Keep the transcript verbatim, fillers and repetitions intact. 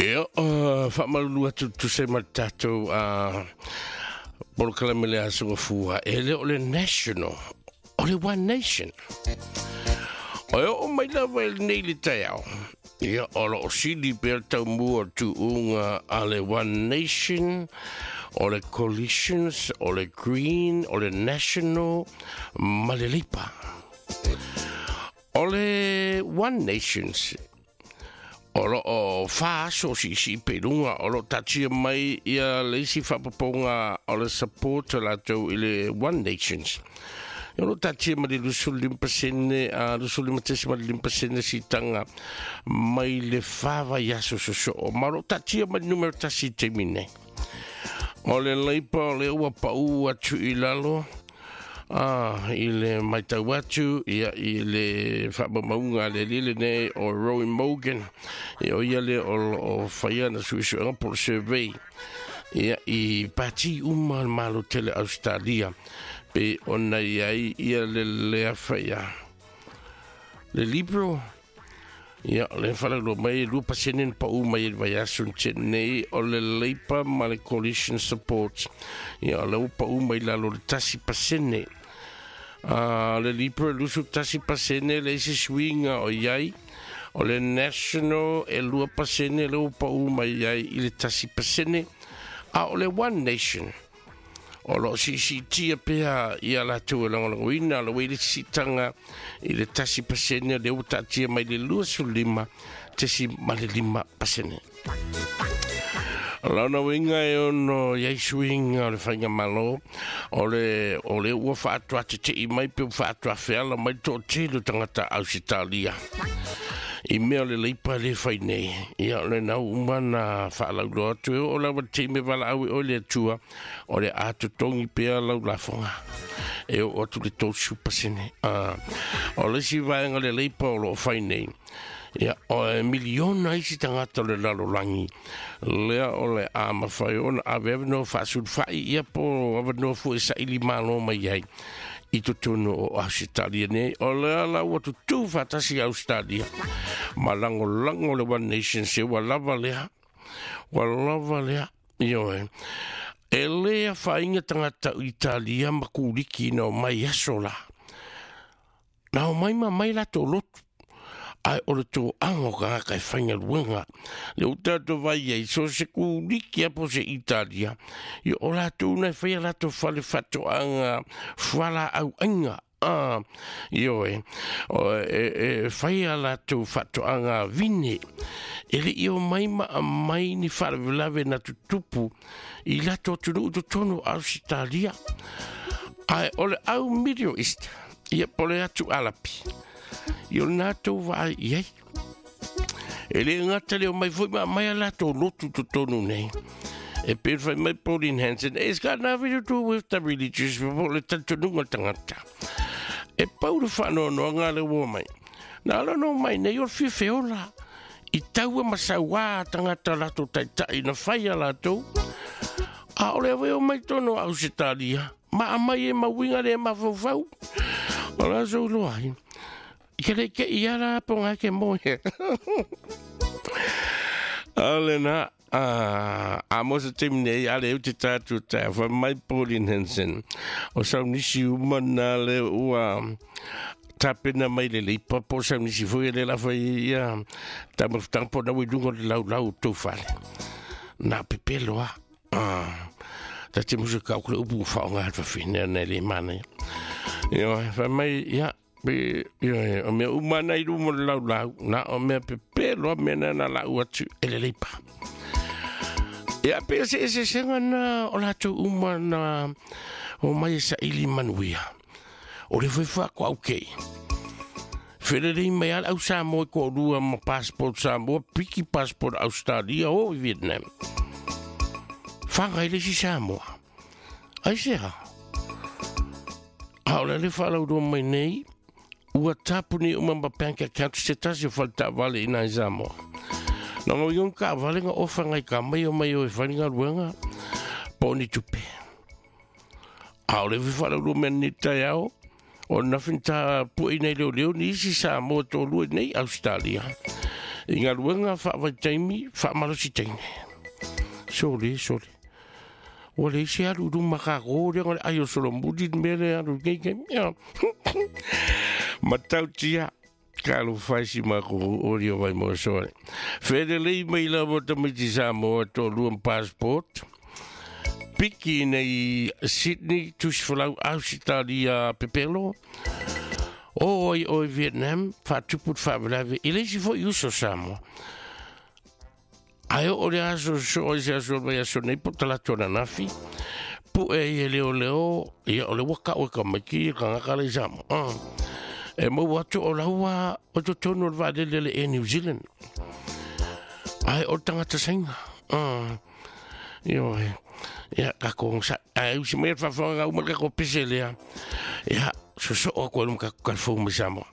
Ia, uh, faamalulu atu tusa ma le tatou uh, polokalame le aso gafua, e le o le National, o le One Nation. O e oo mai lava i lenei le taeao, ia, o loo sili pea le taumua o le tuuga a le One Nation, o le Coalitions, o le Green, o le National, ma le Labour. O le One Nations, o loo fa aso siisii pe luga, o loo taatia mai ia le isi faapopoga o le support latou i le One Nations. O loo taatia ma le luasefulu lima pasene a luasefulu lima tesi ma le lima pasene siitaga mai le fa vaiaso sosoo, ma o loo taatia ma le numera tasi i taimi nei. O le Labour, o le ua paʻu atu i lalo ah, i le matau atu ia i le faamaumauga a le alii lenei o Roy Morgan, ia o ia le o loo faia na suesuega po o le survey ia i pati uma le Malo tele Australia, pe ona i ai ia le lea faia le Liberal. Ia, o le faalauloa mai e lua pasene na paʻu mai e le vaiaso na tea nei. O le Labour ma le Coalition support, ia, o le ua paʻu mai lalo le tasi pasene. Uh, le Liberal lusu tasi pasene le isi suiga o iai. O le National e lua pasene le ua paʻu mai ai i le tasi pasene. A o le One Nation, o loo siisiitia pea ia latou e lagolagoina lo ua i le siitaga i le tasi pasene, lea ua taatia mai le luasefulu lima tesi ma le lima pasene. Lona uiga e ono iai suiga o le faigamalo, o le o le ua faatoatetei mai pe ua faatoafeala mai le toatele o tagata Ausetalia i mea o le Labour le fai nei. Ia, o lena uma na faalauloa atu e oo lava le taimi valaau e oe le Atua, o le a totogi pea lau lafoga e oo atu le tolusefulu pasene. Ah, o le isi vaega le Labour o loo fai nei, ia, o e miliona isi tagata o le lalolagi lea o le a mafai ona ave avanoa faasulufai ia po avanoa foi saili malo mai ai i totonu o Ausetalia nei. O lea la ua tutū faatasi Australia ma lagolago le One Nation, se ua lava lea, ua lava lea. Ioe, e lē afaina tagata Italia ma Kuliki na o mai aso la na o mai ma mai latou lotu, ae o le toaga o tagata e faigaluega le ua tatou vai ai so se Kuliki a po se Italia. Ia, o latou na e faia latou fale faatoaga fualaau aiga. Ah, ioe, o e, e faia latou faatoaga vine, e le i o mai ma aumai ni faalavelave na tutupu i latou atunuu totonu o Ausetalia. Ae o le au Middle East, ia, po le atu Alapi, ia o lena tou vaai i ai. E le gata le o mai foi ma aumai a latou lotu totonu nei. E pe fai mai Pauline Hanson, it's got nothing to do with the religious, po le talitonuga o le tagata. E pau le faanoanoaga le ua mai. Na ala no mai nei o le fiafeola. I taua ma sauā tagata latou taitai na fai a latou. A o le ave o mai tono Ausetalia, ma amai e mauiga le mafaufau. O la sou loa ai. Ke le ke ia la ponga ke moe. Ale na a a mo se taimi nei ale u te tātou tā fa mai Pauline Hanson o saunisi uma na le ua tapena mai le Labour po saunisi foi le la fai ia tamafutaga po na ua i luga o le laulau tou fale na pepelo a ah ta te musu ka ku le upu whaonga hat whawhine na le mana ia fa mai ia pe ia o mea uma na i luma o le laulau na o mea pepelo a mea na na lau atu e le Labour. Ia pe se se senga na o latou uma na o mai e saili manuia. O le foi ko au kei. Felelei mai ala au Samoa ko lua ma passport Samoa, piki passport Australia o Vietnam. Whangai le si Samoa. Ai se ha. A o le le whalau mai nei, ua tapuni uma ma bank account se tasi o whalta wale i nai Samoa. Na ngau iong ka wale nga ofa ngai ka mai o mai o e wharinga ruanga, po ni tupe. A o le whalau mea ni tai ao, o nothing ta pui nei leo leo ni isi Samoa tō lua nei Australia. I galuega faavaitaimi faamalosi teine. Sole, sole. Ua leai se alu i luma kākō lea o le ai o solomuli le mea lea alu i lenei taimi. Ia. Matautia. Talofa e si makou oli o Vaimoa sole. Felelei mai lava tamaiti Samoa toalua ma passport. Piki nei Sydney, tusi folau Ausitalia pepelo. O ai oe Vietnam, faatupu le faalavelave i le isi foi uso Samoa. Ae oo le aso soo ai se aso o le vaiaso nei po o talaatu ananafi, pue ai e leoleo, ia o le ua kau e tamaiti le tagata la i Samoa. Ah. E maua atu o laua o totonu o le vaalele a le Air New Zealand. Ae o le tagata Saina. Ah. Ioe. Ia, tatou onosai. Ae usi mai le faafofoga uma le tatou pese lea. Ia, sosoo atu ai luma tatou talifou mai Samoa.